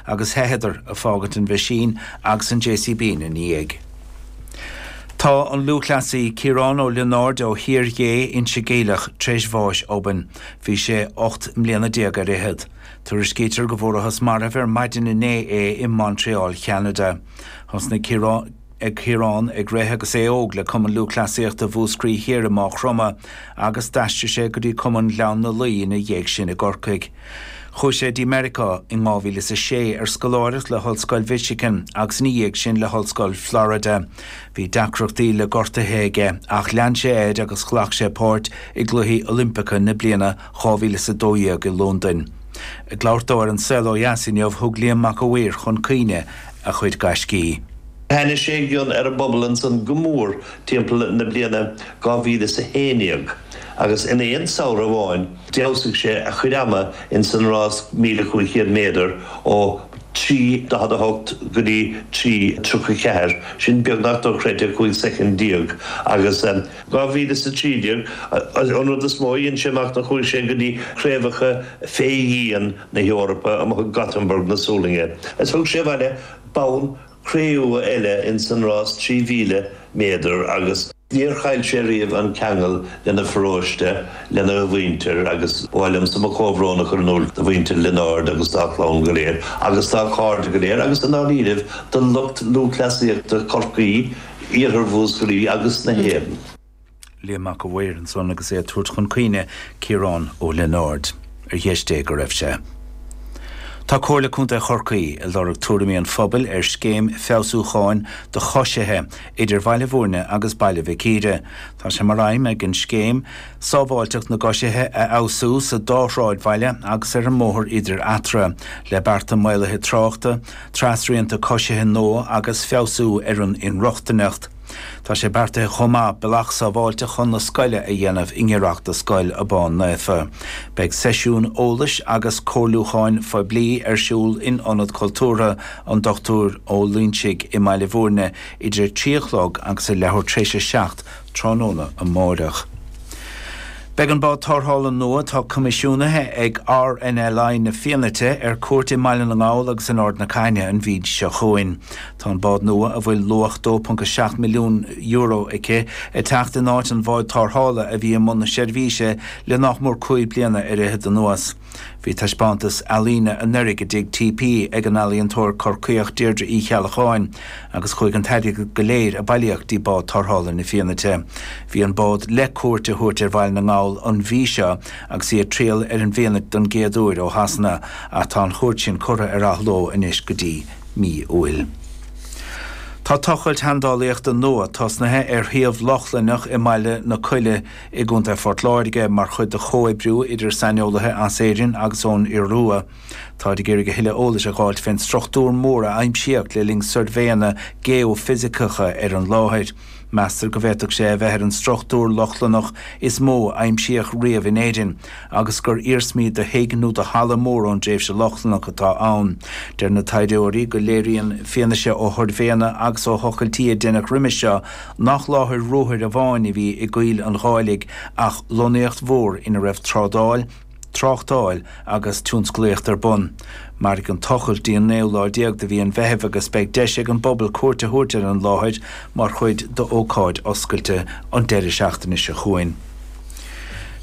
agus theitheadar, ag fágaint an mheaisín agus an JCB ina ndiaidh. Tá an lúthchleasaí Ciarán Ó Lionáird ó Thír Ghé, Inse Geimhleach, tar éis bháis obainn. Bhí sé 18 mbliana ar fhichead. Tuairiscítear go bhfuarathas marbh ar maidin inné é i Montreal, Cheanada. Thosnaigh Ciarán ag rith agus é óg le Cumann Lúthchleasaíochta Mhúscraí Thiar i Máigh Chromtha agus d'aistrigh sé go dtí Cumann Ghleann na Laoi ina dhiaidh sin i gCorcaigh. Chuaigh sé dtí Meiriceá in 2006 ar scoláireacht le hOllscoil Mhichigan agus ina dhiaidh sin le hOllscoil Florida. Bhí deacrachtaí le gortuithe aige ach lean sé air agus ghlac sé páirt i gCluichí Oilimpeacha na bliana 2012 i Londain. Ag labhairt dó ar An Saol Ó Dheas inniu, thug Liam Mac a' Mhaoir chun cuimhne a chuid gaiscí. Thaitnigh sé i gcion ar an bpobal ansan go mór timpeall na bliana 2011 agus in aon samhradh amháin d'fheabhsaigh sé a chuid ama ins an rás 1,500 méadar ó 3:48 go dtí 3:34, sin beagnach dochreidte, 15 soicind agus. 2013, an rud is mó a dhein sé amach ná chuaigh sé go dtí craobhacha fé dhíon na hEorpa amuigh i Gothenburg na Sualainne is thug sé abhaile bonn cré-umha eile ins an rás 3,000 méadar agus níor chaill sé riamh an ceangal lena pharóiste, lena mhuintir agus ba mhaith liomsa mo chomhbhrón a chur in iúl do mhuintir Lionáird agus dá chlann go léir agus dá chairde go léir agus i ndáiríribh do lucht lúthchleasaíochta Chorcaí Iarthar Mhúscraí agus na hÉireann. Liam Mac a' Mhaoir ansan agus é ag tabhairt chun cuimhne Ciarán Ó Lionáird. Ar dheis Dé go raibh sé. Tá Comhairle Contae Chorcaí ag lorg tuairimí an phobail ar scéim feabhsúcháin do choisithe idir Bhaile Bhúirne agus Baile Mhic Íre. Tá sé mar aidhm ag an scéim sábháilteacht na gcoisithe a fheabhsú sa dá shráidbhaile agus ar an mbóthar idir eatarthu, le bearta maolaithe tráchta, trasrianta coisithe nua agus feabhsú ar an inrochtaineacht. Tá sé beartaithe chomh maith bealach sábháilte chun na scoile a dhéanamh i ngiorracht do Scoil Abán Naofa. Beidh seisiún eolais agus comhairliúcháin phoiblí ar siúl in Ionad Cultúrtha an Dr Ó Loingsigh i mBaile Bhúirne idir a 3 a chlog agus a leathuair tar éis a 7 tráthnóna amáireach. Beidh an bád tarrthála nua atá coimisiúnaithe ag RNLI na Fianaite ar cuairt i mBaile na nGall agus in Ard na Caithne an mhí seo chugainn. Tá an bád nua, a bhfuil luach €2.7 milliún aici, ag teacht in áit an bháid tarrthála a bhí i mbun na seirbhíse le nach mór 5 bliana ar fhichead anuas. Bhí taispeántas ealaíne anuraidh i dTigh TP ag an ealaíontóir Corcaíoch Deirdre Uí Cheallacháin agus chuaigh an t-airgead go léir a bailíodh dtí bád tarrthála na Fianaite. Bhí an bád le cuairt a thabhairt ar Bhaile na nGall an mhí seo agus í ag triall ar an bhFianait don gcéad uair ó Shasana ach tá an chuairt sin curtha ar athló anois go dtí mí Iúil. Tá tochailt sheandálaíochta nua tosnaithe ar shuíomh Lochlannach i mBaile na Coille i gContae Phort Láirge mar chuid de chomhoibriú idir saineolaithe as Éirinn agus ón Iorua. Táid ag iarraidh a thuilleadh eolais a dh'fháilt fén struchtúr mór a aimsíodh le linn suirbhéanna geoifisiceacha ar an láthair. Meastar go bhféadfadh sé a bheith ar an struchtúr Lochlannach is mó a aimsíodh riamh in Éirinn agus gur iarsmaí de thigh nó de halla mór ón dtréimhse Lochlannach atá ann. Deir na taighdeoirí go léiríonn fianaise ó shuirbhéanna agus ó thochailtí a deineadh roimis seo nach láthair ruathair amháin a bhí i gCoill an Gháilligh ach lonnaíocht mhór ina raibh trádáil, tráchtáil agus tionsclaíocht ar bun. Mairfidh an tochailt dtí an naoú lá déag de mhí an Mheithimh agus beidh deis ag an bpobal cuairt a thabhairt ar an láthair mar chuid d'ócáid oscailte an deireadh seachtaine seo chugainn.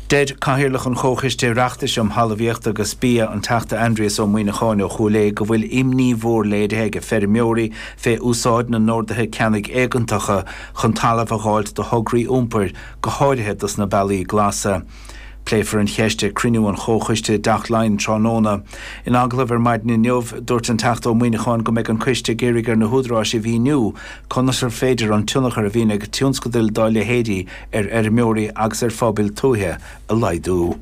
Deir Cathaoirleach an Chomhchoiste Oireachtais um Thalmhaíocht agus Bia, an Teachta Aindrias Ó Muíneacháin ó Chúil Aodha go bhfuil imní mhór léirithe ag feirmeoirí fé úsáid na n-orduithe ceannaigh éigeantacha chun talamh a dh'fháilt do thograí iompair, go háirithe dos na bealaí glasa. Pléifear an cheist ag cruinniú an Chomhchoiste i dTeach Laighean tráthnóna. In agallamh ar maidin inniu, dúirt an Teachta Ó Muíneacháin go mbeidh an coiste ag iarraidh ar na húdaráis a mhíniú conas ar féidir an tionchar a bhíonn ag tionscadail dá leithéidí ar fheirmeoirí agus ar phobail tuaithe a laghdú.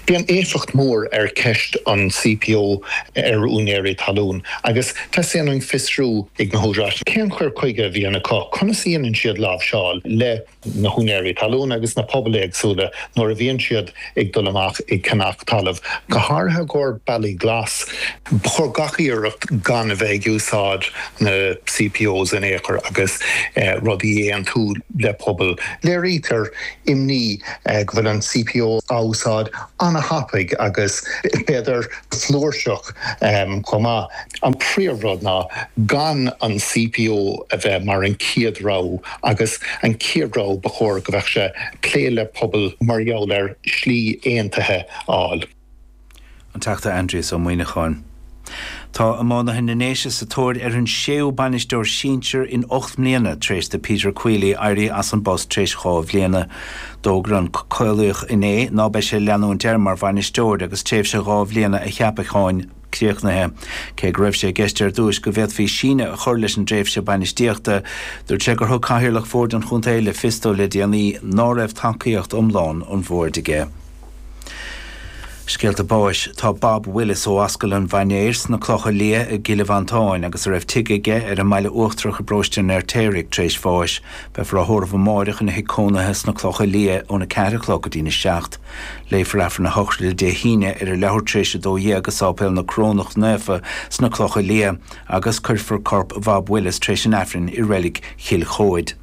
Bíonn éifeacht mór ar ceist an CPO ar úinéirí talún agus teastaíonn uainn fiosrú ag na húdaráis cén cur chuige a bhíonn acu, conas a dhéanann siad láimhseáil le na húinéirí talún agus na pobail éagsúla nuair a bhíonn siad ag dul amach ag ceannach talamh, go háirithe i gcomhair bealaí glas. Ba chóir gach iarracht gan a bheith ag úsáid na CPOs in aon chor agus rudaí a aontú le pobail. Léirítear imní go bhfuil an CPO á úsáid. Ana-thapaidh agus b'fhéidir flúirseach chomh maith. An príomhrud ná gan an CPO a bheith mar an chéad rogha agus an chéad rogha ba chóir go bheadh sé plé le pobal mar gheall ar shlí aontaithe a fháil. An Teachta Aindrias Ó Muimhneacháin. Tá iománaithe na nDéise sa tóir ar an séú bainisteoir sinsir in 8 mbliana tar éis do Peter Queally éirí as an bpost tar éis 2 bhliana. D'fhógair an Caolaíoch inné ná beidh sé ag leanúint air mar bhainisteoir agus tréimhse 2 bhliana a cheapacháin críochnaithe. Cé go raibh sé i gceist ar dtúis go bhféadfaí síneadh a chur leis an dtréimhse bainistíochta, dúirt sé gur thug cathaoirleach bhord an chontae le fios dó le déanaí ná raibh tacaíocht iomlán an bhoird aige. Scéalta báis Tá Bob Willis ó Ascaill an Mhainéir sna Clocha Liath i gCill Mhantáin agus a raibh tigh aige ar an mBaile Uachtarach i bparóiste an Fheirtéaraigh tar éis bháis. Beifear á thórramh amáireach ina thigh cónaithe sna Clocha Liath óna 4 a chlog go dtína 7. Léifear Aifreann a shochraide Dé hAoine ar a leathuair tar éis 12 i Sáipéal na Corónach Naofa sna Clocha Liath agus cuirfear corp Bhob Willis tar éis an Aifrinn i reilig Chill Chomhaid.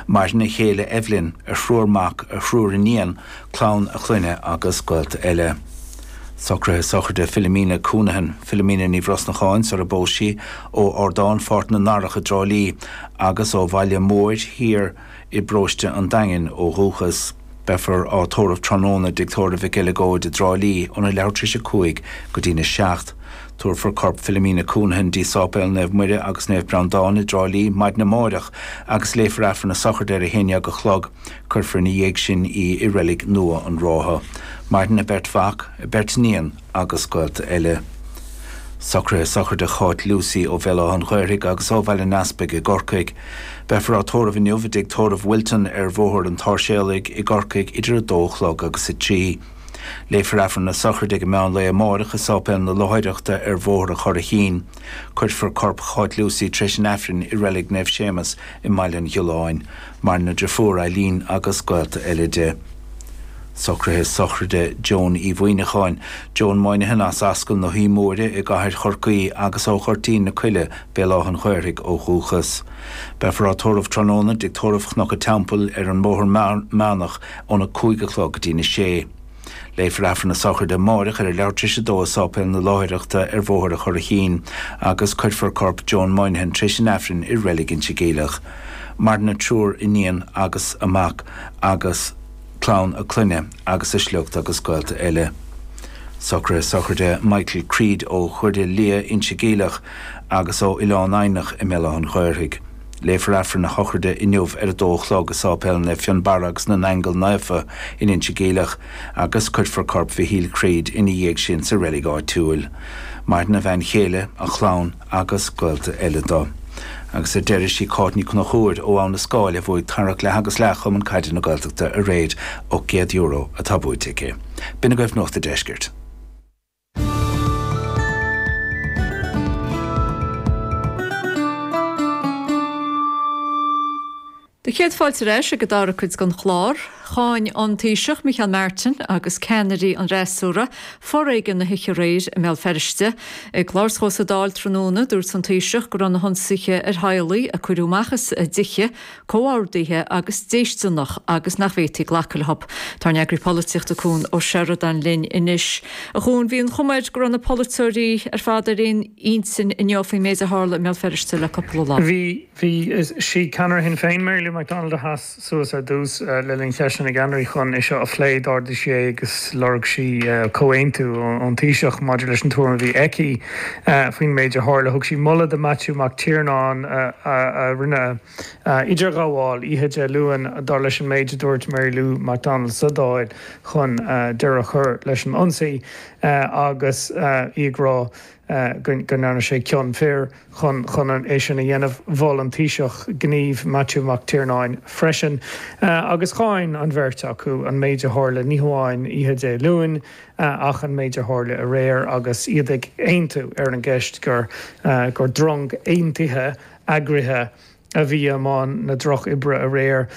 Maireann a chéile Evelyn, a thriúr mac, a thriúr iníon, clann a clainne agus gaolta eile. Socruithe sochraide Philomena Counihan, Philomena Ní Bhrosnacháin sar a bpós sí, ó Ardán Pháirc na nDarach i dTrá Lí agus ó Bhaile Móir Thiar i bparóiste an Daingin ó dhúchas. Beifear á tórramh tráthnóna i dTigh Tórraimh Mhic Eileagóid i dTrá Lí óna leathuair tar éis 5 go dtína 7. Tabharfar corp Philomena Counihan dtí Sáipéal Naomh Muire agus Naomh Breandán i dTrá Lí maidin amáireach agus léifear Aifreann a sochraide ar a haon dhéag a chlog. Cuirfear ina dhiaidh sin í i reilig nua an Rátha. Maireann a beirt mhac, a beirt iníon agus gaolta eile. Socruithe sochraide Cháit Lucy ó Bhéal Átha an Ghaorthaidh agus ó Bhaile an Easpaig i gCorcaigh. Beifear á tórramh inniu i dtigh tórraimh Wilton ar Bhóthar an tSáirséalaigh i gCorcaigh idir 2 a chlog agus 3. Léifear Aifreann na sochraide ag an meán lae amáireach i Sáipéal na Luaithreachta ar Bhóthar an Churraichín. Cuirfear corp Cháit Lucy tar éis an Aifrinn i Reilig Naomh Séamus i mBaile an Ghiolláin. Maireann a driofúr Eileen agus gaolta eile di. Socruithe sochraide Joan Uí Mhuimhneacháin, Joan Moynihan as Ascaill na hUí Móire i gCathair Chorcaí agus ó Ghoirtín na Coille, Béal Átha an Ghaorthaidh ó dhúchas. Beifear á tórramh tráthnóna i dTigh Tórraimh Chnoc an Teampaill ar an mBóthar Meánach óna 5 a chlog go dtína 6. Léifear Aifreann na sochraide amáireach ar a leathuair tar éis a dó i Sáipéal na Láithreachta ar Bhóthar an Churraichín agus cuirfear corp Joan Moynihan tar éis an Aifrinn i Reilig Inse Geimhleach. Maireann a triúr iníon agus a mac agus clann a clainne agus a sliocht agus gaolta eile. Socruithe sochraide Michael Creed ó Dhoire Liath, Inse Geimhleach agus ó Oileán Eidhneach i mBéal Átha an Ghaorthaidh. Léifear Aifreann a shochraide inniu ar a dó a chlog i Sáipéal Naomh Fionnbarra agus na nAingeal Naofa in Inse Geimhleach agus cuirfear corp Mhichíl Creed ina dhiaidh sin sa reilig áitiúil. Maireann a bhean chéile, a chlann agus gaolta eile dó. Agus ar deireadh, sí Cáit Ní Chonchúir ó Abha na Scáil a bhuaigh tarrac leath agus leath Chumann Caide na Gaeltachta aréir, €800 atá buaite aici. B'in agaibh Nuacht a' Deiscirt. Do chéad fáilte ar ais ag an dara cuid den chlár. Cháin an Taoiseach Micheál Martin agus ceannairí an fhreasúra foréigean na hoíche aréir i mBéal Feirste. Ag labhairt dhó sa Dáil tráthnóna, dúirt an Taoiseach go raibh na hionsaithe ar theaghlaigh a cuireadh amach as a dtithe comhordaithe agus déisteanach agus nach bhféadfaí glacadh leo. Tá ár n-eagraí polaitíochta Cuan Ó Seireadáin linn anois. A Chuain, bhí an chuma air go raibh na polaiteoirí ar fad ar aon intinn inniu faoin méid a tharla i mBéal Feirste le cúpla lá. Bhí, bhí. Sí ceannaire Shinn Féin, Mary Lou McDonald a sheas suas ar dtús le linn Cheisteanna na gCeannairí chun é seo a phlé. D'ardaigh sí é agus lorg sí comhaontú ón Taoiseach maidir leis an tuairim a bhí aici faoin méid a tharla. Thug sí moladh do Maitiú Mac Tiarnáin a rinne idirghabháil oíche Dé Luain, dar leis an méid a dúirt Mary Lou McDonald sa Dáil, chun deireadh a chur leis an ionsaí agus í ag rá go ndearna sé cion fir chun chun é sin a dhéanamh. Mhol an Taoiseach gníomh Maitiú Mac Tiarnáin freisin agus cháin an bheirt acu an méid a tharla ní hamháin oíche Dé Luain ach an méid a tharla aréir agus iad ag aontú ar an gceist gur gur drong aontaithe eagraithe. a bhí i mbun na drochoibre aréir.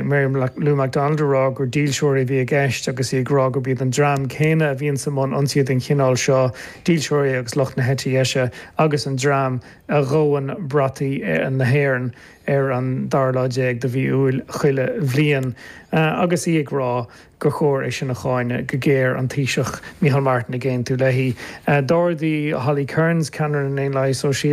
Mary Lou McDonald ag rá gur dílseoirí a bhí i gceist agus í ag rá gurb iad an dream céanna a bhíonns i mbun ionsaithe den chineál seo, dílseoirí agus lucht na heite deise agus an dream a dhóann brataí na hÉireann ar an dara lá déag de mhí Iúil chuile bhliain agus í ag rá gur chóir é sin a cháineadh go géar, an Taoiseach Micheál Martin ag aontú léi. D'ardaigh Holly Cairns, ceannaire na nDaonlathaithe Sóisialta.